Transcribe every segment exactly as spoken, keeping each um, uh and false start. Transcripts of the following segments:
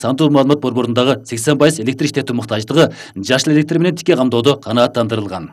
Сандуу маалымат борборундагы сексен пайыз электр иштетүү муктаждыгы жашыл электр менен тикей камдоодо канааттандырылган.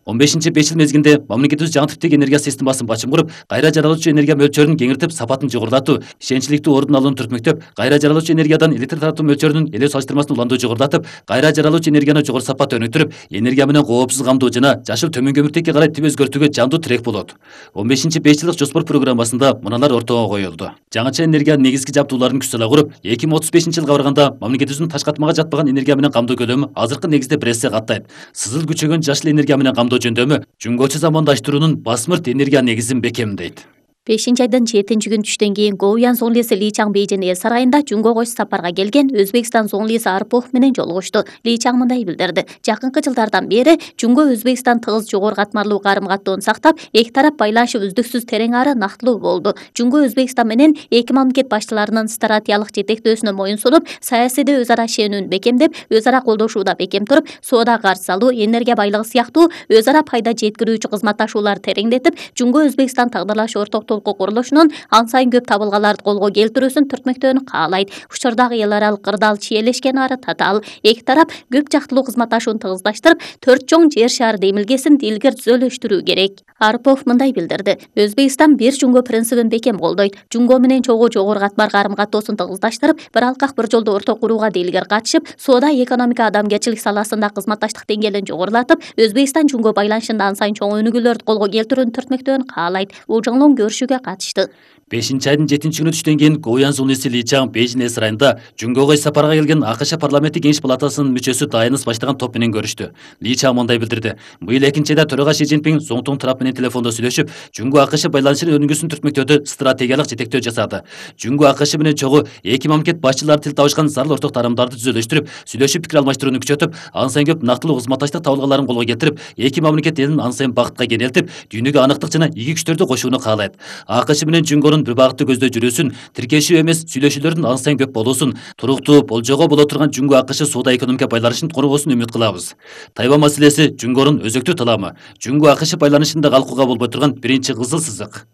он бешинчи беш жыл мезгилинде мамлекетибиз жаңы типтеги энергия системасын бачым куруп, кайра жаралуучу энергия мөлчөрүн кеңиртип, сапатын жогорулатуу, ишенчтүүлүктүү ордун алууну түртмөктөп, кайра жаралуучу энергиядан электр таратуу мөлчөрүнүн эле салыштырмасын уланду жогорулатып, кайра жаралуучу энергияны жогору сапат өнүктүрүп, энергия менен коопсуз камдоо жана жашыл төмөн көмүртекке карай тип өзгөртүүгө жандуу тирек болот. он бешинчи беш жылдык жоспор программасында мыналар ортого коюлду. Жаңыча энергия негизги жабдууларын күч сала куруп, эки миң отуз бешинчи жылга барганда мамлекетибиздин таш катмага жатпаган энергия менен камдоо көлөмү азыркы негизде бир эсе каттайт. Сызыл күчөгөн жашыл энергия менен камдоо жөндөмү жөнгөчө замандаштыруунун басмырт энергия негизин бекемдейт. бешинчи айдын жетинчи күн түштөн кийин Гоуян зоңлиси Ли Чаң Бейжин эл сарайында Жунго кош сапарга келген Өзбекстан зоңлиси Арпов менен жолугушту. Ли Чаң мындай билдирди: жакынкы жылдардан бери Жунго Өзбекстан тыгыз жогору катмарлуу карым-каттоон сактап, эки тарап байланышы үздүксүз терең ары нактылуу болду. Жунго Өзбекстан менен эки мамлекет башчыларынын стратегиялык жетектөөсүнө моюн сунуп, саясийде өз ара ишенүүнү бекемдеп, өз ара колдошууда бекем туруп, соода карж салуу, энергия байлыгы сыяктуу өз ара пайда жеткирүүчү кызматташууларды тереңдетип, Жунго Өзбекстан тагдырлаш орток курулушунун ан сайын көп табылгаларды колго келтирүүсүн түртмөктөөнү каалайт. Учурдагы эл аралык кырдаал чиелешкен ары татаал. Эки тарап көп жактылуу кызматташууну тыгыздаштырып, төрт чоң жер шары демилгесин дилгер түзөлүштүрүү керек. Арпов мындай билдирди: Өзбекстан бир Жунго принцибин бекем колдойт. Жунго менен чогуу жогору катмар карым-каттоосун тыгыздаштырып, бир алкак бир жолдо орток курууга дилгер катышып, соода, экономика, адамгерчилик саласында кызматташтык деңгээлин жогорулатып, Өзбекстан Жунго байланышында ан сайын чоң өнүгүүлөрдү колго келтирүүнү түртмөктөөнү каалайт. Ужуңлуң көрүшүүгө катышты. бешинчи айдын жетинчи күнү түштөн кийин Гоуян зоңлиси Ли Чаң Бейжин эл сарайында Жунгого сапарга келген АКШ парламенттик кеңеш палатасынын мүчөсү Дайныс баштаган топ менен көрүштү. Ли Чаң мындай билдирди: быйыл экинчи айда төрага Ши Цзиньпин Зоңтун Трап менен телефондо сүйлөшүп, Жунго АКШ байланышынын өнүгүүсүн түртмөктөөдө стратегиялык жетектөө жасады. Жунго АКШ менен чогуу эки мамлекет башчылары тил табышкан зарыл орток тарамдарды түзөлүштүрүп, сүйлөшүп пикир алмаштырууну күчөтүп, ан сайын көп нактылуу кызматташтык табылгаларын колго келтирип, эки мамлекет элин ан сайын бакытка кенелтип, дүйнөгө анықтык жана ийги күчтөрдү кошууну каалайт. АКШ менен Жунгонун бир багытты көздөй жүрүүсүн, тиркешүү эмес сүйлөшүүлөрдүн ан сайын көп болуусун, туруктуу болжоого боло турган Жунго АКШ соода экономика байланышын коргоосун үмүт кылабыз. Тайвань маселеси Жунгонун өзөктүү таламы, Жунго АКШ байланышында калкууга болбой турган биринчи кызыл сызык.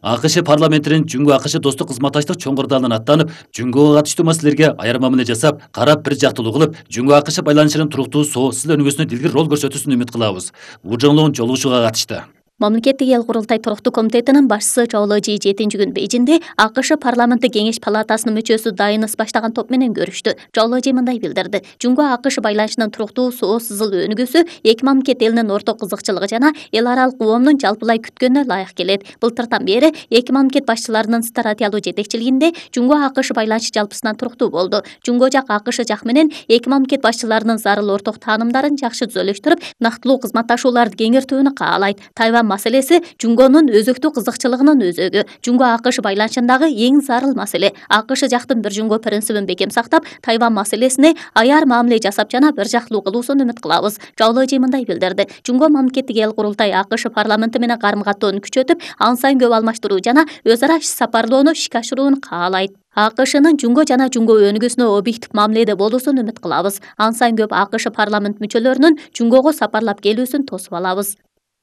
АКШ парламентинин Жунго АКШ достук кызматташтык чоң кырдаалынан аттанып, Жунгого катыштуу маселелерге айырма мамиле жасап, карап бир жактылуу кылып, Жунго АКШ байланышынын туруктуу, соосуз өнүгүүсүнө дилгир роль көрсөтүүсүн үмүт кылабыз. Ужоңлугун жолугушууга катышты. Мамлекеттик эл курултай туруктуу комитетинин башчысы Чоуло Жи жетинчи күн Бейжинде АКШ парламенттик кеңеш палатасынын мүчөсү Дайныс баштаган топ менен көрүштү. Чоуло Жи мындай билдирди: Жунго АКШ байланышынын туруктуу, соо сызыл өнүгүүсү эки мамлекет элинин орток кызыкчылыгы жана эл аралык коомдун жалпылай күткөнүнө ылайык келет. Былтыртан бери эки мамлекет башчыларынын стратегиялуу жетекчилигинде Жунго АКШ байланышы жалпысынан туруктуу болду. Жунго жак АКШ жак менен эки мамлекет башчыларынын зарыл орток таанымдарын жакшы түзөлүштүрүп, нактылуу кызматташууларды кеңиртүүнү каалайт. Тайвань маселеси Жунгонун өзөктүү кызыкчылыгынын өзөгү. Жунго АКШ байланышындагы эң зарыл маселе. АКШ жактын бир Жунго принцибин бекем сактап, Тайвань маселесине аяр мамиле жасап жана бир жактылуу кылуусун үмүт кылабыз. Чоуло Жи мындай билдирди: Жунго мамлекеттик эл курултай АКШ парламенти менен карым-каттоону күчөтүп, ан сайын көп алмаштыруу жана өз ара иш сапарлоону ишке ашырууну каалайт. АКШнын Жунго жана Жунго өнүгүүсүнө объектив мамиледе болуусун үмүт кылабыз. Ан сайын көп АКШ парламент мүчөлөрүнүн Жунгого сапарлап келүүсүн тосуп алабыз.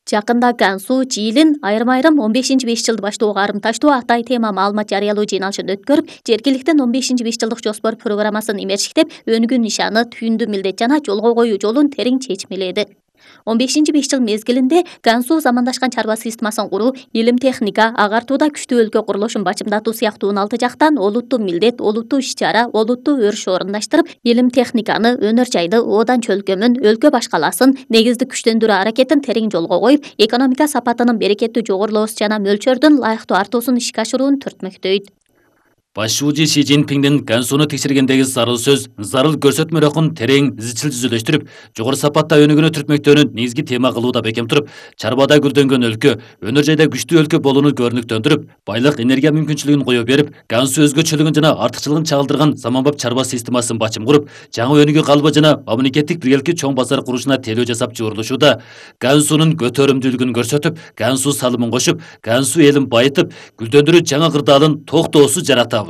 Жакында Гансу, Жиилин айрым-айрым он бешинчи беш жылды баштоого карымташтуу атай тема маалымат жарыялоо жыйналышын өткөрүп, жергиликтен он бешинчи беш жылдык жоспор программасын имерчиктеп, өнүгүү нишаны, түйүндүү милдет жана жолго коюу жолун терең чечмеледи. он бешинчи беш жыл мезгилинде Гансу замандашкан чарба системасын куруу, илим техника, агартууда күчтүү өлкө курулушун бачымдатуу сыяктуу алты жактан олуттуу милдет, олуттуу иш-чара, олуттуу өрүш орундаштырып, илим техниканы, өнөр жайды, оодан чөлкөмүн, өлкө башкаласын, негизди күчтөндүрүү аракетин терең жолго коюп, экономика сапатынын берекеттүү жогорулоосу жана мөлчөрдүн ылайыктуу артуусун ишке ашырууну түртмөктөйт. Башчы Ши Цзиньпиндин Гансуну текшергендеги зарыл сөз, зарыл көрсөтмө рөхүн терең, изчил түзүлүштүрүп, жогору сапатта өнүгүүнү түртмөктөөнүн негизги тема кылууда бекем туруп, чарбада гүлдөнгөн өлкө, өнөр жайда күчтүү өлкө болууну көрүнүктөндүрүп, байлык энергия мүмкүнчүлүгүн кое берип, Гансу өзгөчөлүгүн жана артыкчылыгын чагылдырган заманбап чарба системасын бачым куруп, жаңы өнүгүү калыбы жана мамлекеттик биргеликти чоң базар курушуна телөө жасап жуурулушууда, Гансунун көтөрүмдүүлүгүн көрсөтүп, Гансу салымын кошуп, Гансу элин байытып, гүлдөндүрүү жаңы кырдаалын токтоосуз жаратабыз.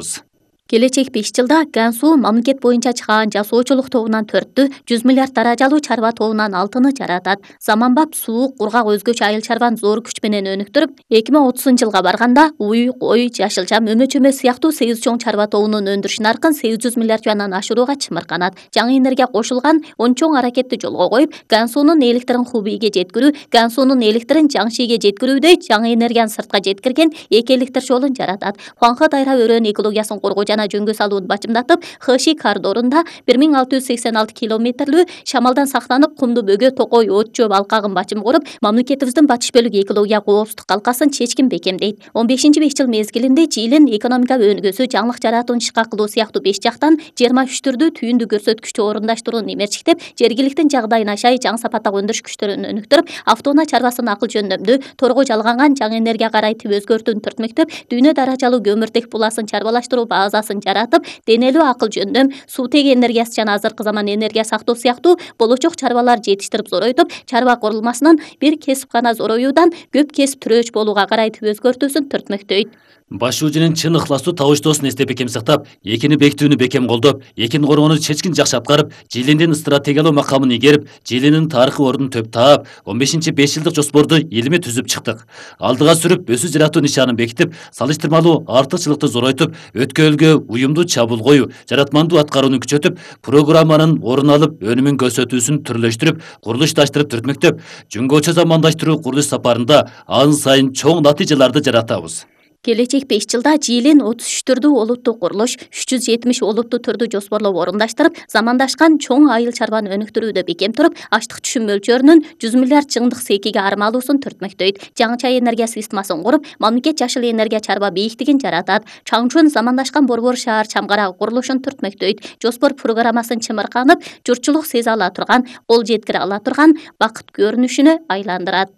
Келечек беш жылда Гансу мамлекет боюнча чыгаан жасоочулук тобунан төрттү, жүз миллиард даражалуу чарба тобунан алтыны жаратат. Заманбап суук, кургак өзгөчө айыл чарбаны зор күч менен өнүктүрүп, эки миң отузунчу жылга барганда уй, кой, жашылча, мөмө-чөмө сыяктуу сегиз чоң чарба тобунун өндүрүш наркын сегиз жүз миллиард юандан ашырууга чымырканат. Жаңы энергия кошулган он чоң аракетти жолго коюп, Гансунун электрин Хубейге жеткирүү, Гансунун электрин Жаңшиге жеткирүүдөй жаңы энергияны сыртка жеткирген эки электр жолун жаратат. Хуанхэ дайра өрөөнүн экологиясын коргоо жана жөнгө салууну бачымдатып, Хэши коридорунда бир миң алты жүз сексен алты километрлүү шамалдан сактанып, кумду бөгө, токой, от жөө алкагын бачым коруп, мамлекетибиздин батыш бөлүгү экология коопсуздук калкасын чечкин бекемдейт. он бешинчи беш жыл мезгилинде Чилин экономика өнүгүүсү, жаңылык жаратууну ишке кылуу сыяктуу беш жактан жыйырма үч түрдүү түйүндү көрсөткүчтү орундаштырууну эмерчиктеп, жергиликтин жагдайына шай жаңы сапаттагы өндүрүш күчтөрүн өнүктүрүп, автоунаа чарбасын акыл жөндөмдүү, торго жалганган жаңы энергия карайтып өзгөртүүнү түртмөктөп, дүйнө даражалуу көмүртек буласын чарбалаштыруу базасын жаратып, денелүү акыл жөндөм, суутеги энергиясы жана азыркы заман энергия сактоо сыяктуу болочок чарбалар жетиштирип зоройтуп, чарба курулмасынын бир кесип гана зороюудан көп кесип түрөөч болууга карайтып өзгөртүүсүн түртмөктөйт. Баш уужунун чын ыхластуу табыштоосун эстеп бекем сактап, экини бекитүүнү бекем колдоп, экини коргоону чечкин жакшы аткарып, Жилиндин стратегиялуу макамын ийгерип, Жилинин тарыхый ордун төп таап, он бешинчи беш жылдык жоспорду илимий түзүп чыктык. Алдыга сүрүп, өсүү жаратуу нишанын бекитип, салыштырмалуу артыкчылыкты зоройтуп, өткөлгө уюмдуу чабуул коюу, жаратмандуу аткарууну күчөтүп, программанын орун алып, өнүмүн көрсөтүүсүн түрлөштүрүп, курулушташтырып түртмөктөп, жөнгөчө замандаштыруу курулуш сапарында ан сайын чоң натыйжаларды жаратабыз. Келечек беш жылда Жилин отуз үч түрдүү олуттуу курулуш, үч жүз жетимиш олуттуу түрдү жоспорлоп орундаштырып, замандашкан чоң айыл чарбаны өнүктүрүүдө бекем туруп, аштык түшүм мөлчөрүнүн жүз миллиард жыңдык секиге армалуусун түртмөктөйт. Жаңыча энергия системасын куруп, мамлекет жашыл энергия чарба бийиктигин жаратат. Чаңчун замандашкан борбор шаар чамгарагы курулушун түртмөктөйт. Жоспор программасын чымырканып, журтчулук сезе ала турган, кол жеткире ала турган бакыт көрүнүшүнө айландырат.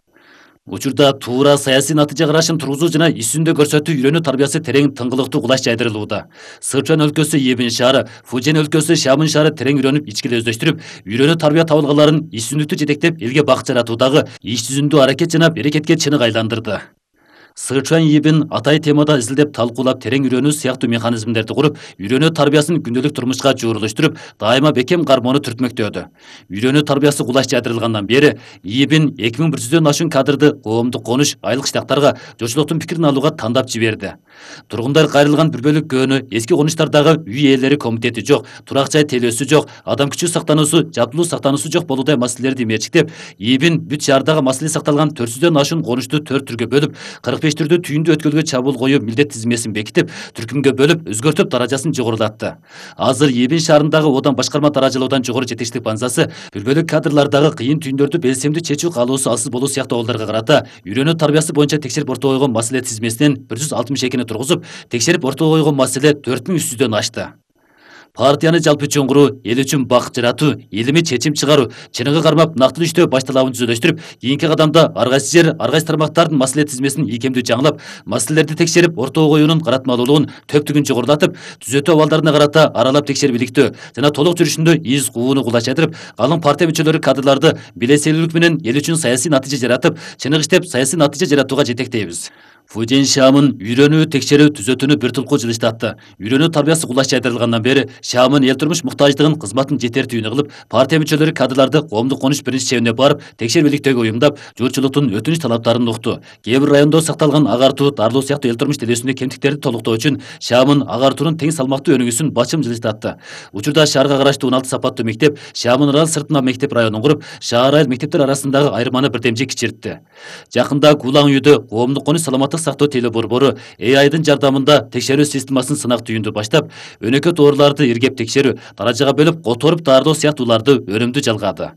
Учурда туура саясий натыйжа карашын тургузуу жана исүндө көрсөтүү үйрөнүү тарбиясы терең тыңгылыктуу кулаш жайдырылууда. Сычуан өлкөсү Ебин шаары, Фужен өлкөсү Шамын шаары терең үйрөнүп, ичкиле өздөштүрүп, үйрөнүү тарбия табылгаларын исүндүктү жетектеп, элге бакыт жаратуудагы иш жүзүндүү аракет жана берекетке чынык айландырды. Сычуан Ебин атай темада изилдеп талкуулап, терең үйрөнүү сыяктуу механизмдерди куруп, үйрөнүү тарбиясын күндөлүк турмушка жуурулуштуруп, дайыма бекем кармоону түртмөктөдү. Үйрөнүү тарбиясы кулаш жайдырылгандан бери Ебин эки миң бир жүздөн ашуун кадрды коомдук конуш, айлык штаттарга журтчулуктун пикирин алууга тандап жиберди. Тургундар кайрылган бир бөлүк көөнү эски конуштардагы үй ээлери комитети жок, турак жай телөөсү жок, адам күчү сактануусу, жабдылуу сактануусу жок болуудай маселелерди эмерчиктеп, Ебин бүт шаардагы маселе сакталган төрт жүздөн ашуун конушту төрт түргө бөлүп, кырк беш түрдүү түйүндүү өткөлгө чабуул коюу милдет тизмесин бекитип, түркүмгө бөлүп, өзгөртүп даражасын жогорулатты. Азыр Ебин шаарындагы одан башкарма даражалоодан жогору жетекчилик базасы бир бөлүк кадрлардагы кыйын түйүндөрдү белсемдүү чечүү каалоосу алсыз болуу сыяктуу абалдарга карата үйрөнүү тарбиясы боюнча текшерип ортого койгон маселе тизмесинен бир жүз алтымыш экини тургузуп, текшерип ортого койгон маселе төрт миң үч жүздөн ашты. Партияны жалпы чоңгуруу, эл үчүн бакыт жаратуу, илимий чечим чыгаруу, чыныгы кармап нактылуу иштөө баш талабын түзөлөштүрүп, кийинки кадамда ар кайсы жер, ар кайсы тармактардын маселе тизмесин ийкемдүү жаңылап, маселелерди текшерип, ортого коюунун каратмалуулугун, төптүгүн жогорулатып, түзөтүү абалдарына карата аралап текшерип иликтөө жана толук жүрүшүндө из кууну кулаш жайдырып, калың партия мүчөлөрү кадрларды белеселүүлүк менен эл үчүн саясий натыйжа жаратып, чыныгы иштеп, саясий натыйжа жаратууга жетектейбиз. Фужен Шамын үйрөнүү, текшерүү, түзөтүүнү бир тулкуу жылыштатты. Үйрөнүү тарбиясы кулаш жайдырылгандан бери Шамын эл турмуш муктаждыгын кызматын жетер түйүнү кылып, партия мүчөлөрү кадрларды коомдук конуш биринчи чебине барып, текшерип иликтөөгө уюмдап, журтчулуктун өтүнүч талаптарын укту. Кээ бир райондо сакталган агартуу, дарылоо сыяктуу эл турмуш делесүндө кемтиктерди толуктоо үчүн Шамын агартуунун тең салмактуу өнүгүүсүн бачым жылыштатты. Учурда шаарга караштуу он алты сапаттуу мектеп, Шамын арал сыртына мектеп районун куруп, шаар айыл мектептер арасындагы айырманы бирдемчи кичиртти. Жакында Кулаң үйдө коомдук конуш саламаттык сактоо теле борбору э айдын жардамында текшерүү системасын сынак түйүндү баштап, өнөкөт ооруларды иргеп текшерүү, даражага бөлүп которуп даарылоо сыяктууларды өнүмдүү жалгады.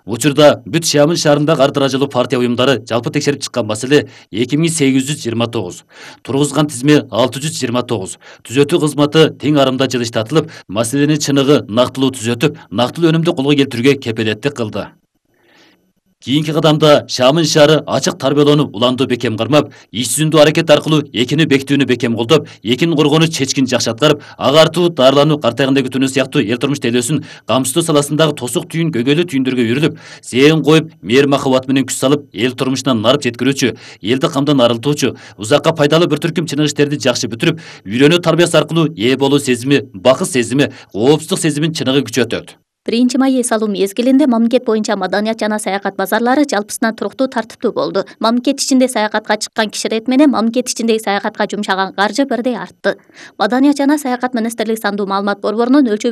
Учурда бүт Шамын шаарындагы ар даражалуу партия уюмдары жалпы текшерип чыккан маселе эки миң сегиз жүз жыйырма тогуз, тургузган тизме алты жүз жыйырма тогуз, түзөтүү кызматы тең арымда жылыштатылып, маселени чыныгы нактылуу түзөтүп, нактылуу өнүмдү колго келтирүүгө кепелеттик кылды. Кийинки кадамда Шамын шаары ачык тарбияланып уланды бекем кармап, иш жүзүндүү аракет аркылуу экини бекитүүнү бекем колдоп, экин коргоону чечкин жакшы аткарып, агартуу, дарылануу, картайганда күтүүнү сыяктуу эл турмуш тейлөөсүн камсыздоо саласындагы тосук түйүн көйгөйлүү түйүндөргө үйрүлүп, зээн коюп, мээр махабат менен күч салып, эл турмушуна нарып жеткирүүчү, элди камдан арылтуучу, узакка пайдалуу бир түркүм чыныгы иштерди жакшы бүтүрүп, үйрөнүү тарбиясы аркылуу ээ болуу сезими, бакыт сезими, коопсуздук сезимин чыныгы күчөтөт. биринчи май эс алуу мезгилинде мамлекет боюнча маданият жана саякат базарлары жалпысынан туруктуу тартиптүү болду. Мамлекет ичинде саякатка чыккан кишилер менен мамлекет ичиндеги саякатка жумшаган каржы бирдей артты. Маданият жана саякат министрлиги сандуу маалымат борборунун өлчөм